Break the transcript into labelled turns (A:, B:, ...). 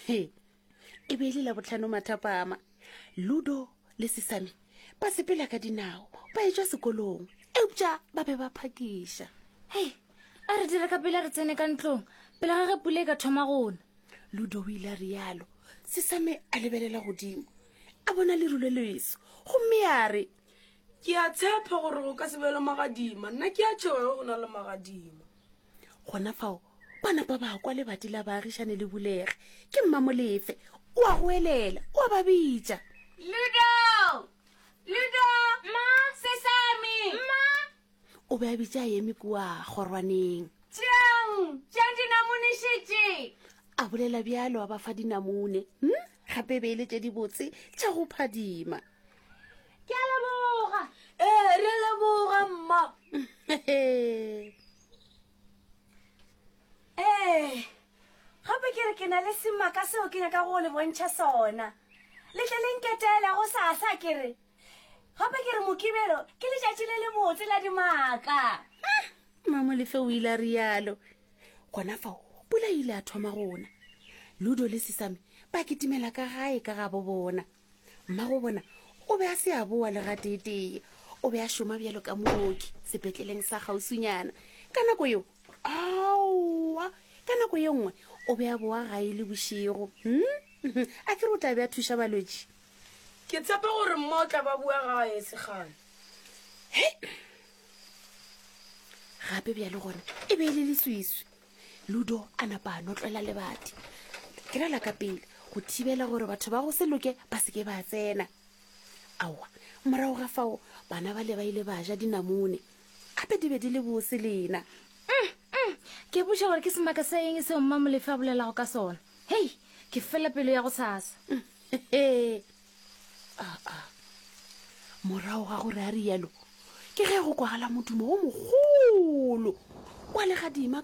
A: He, e be e le Labohlano mathapama. Ludo le Sesame ba sepela ka dinao ba etšwa sekolong, eupša ba be ba phakiša.
B: Hei, a re dire ka pele re tsene ka ntlong pele ga ge pula e ka thoma go na.
A: Ludo o ile a rialo. Sesame a lebelela godimo, a bona leru le leso gomme a re,
C: Ke a tshepa gore go ka se be le magadima. Nna ke a tšhoga ge go na le magadima.
A: Gona fao ba napa ba kwa lebati la baagišane le bulege. Ke Mmamolefe. O a goelela, o a ba bitša.
B: Ludo! Ludo! Mma! Sesame! Mma!
A: O be a bitša a eme kua kgorwaneng.
B: Tšeang! Tšeang dinamune šetše!
A: A bolela bjalo a ba fa dinamune. Hm? Gape e be e le tše dibotse tša go phadima.
B: Ke a leboga.
C: Ee, re a leboga, mma.
D: Ee, gape ke re ke na le semaka seo ke nyaka go le bontšha sona. Le tle le nketele go sasa ke re. Gape ke re Mokibelo ke letšatši le lebotse la dimaka.
A: Mmamolefe o ile a rialo. Gona fao pula e ile a thoma go na. Ludo le Sesame ba kitimela ka gae ka gabo bona. Mmago bona o be a se a boa le gateetee. O be a šoma bjalo ka mooki sepetleleng sa kgauswinyana. Ka nako yeo, aowa, ka nako ye nngwe o be a boa gae le bošego. Hmm? A ke re o tla be a thuša balwetši?
C: Ke tshepa gore mma o tla ba boa gae e se kgale.
A: Hei! Gape bjale gona e be e le leswiswi. Ludo a napa a notlela lebati ke ra la ka pele go thibela gore batho ba go se loke ba se ke ba tsena. Aowa, morago ga fao bana bale ba ile ba ja dinamune. Gape di be di le bose lena.
B: Mm, mm, ke botša gore ke semaka sa eng seo Mma Molefe a bolelago ka sona. Hei, ke fela pelo ya go sasa.
A: Aa, morago ga gore a rialo, ke ge go kwagala modumo o mogolo wa legadima.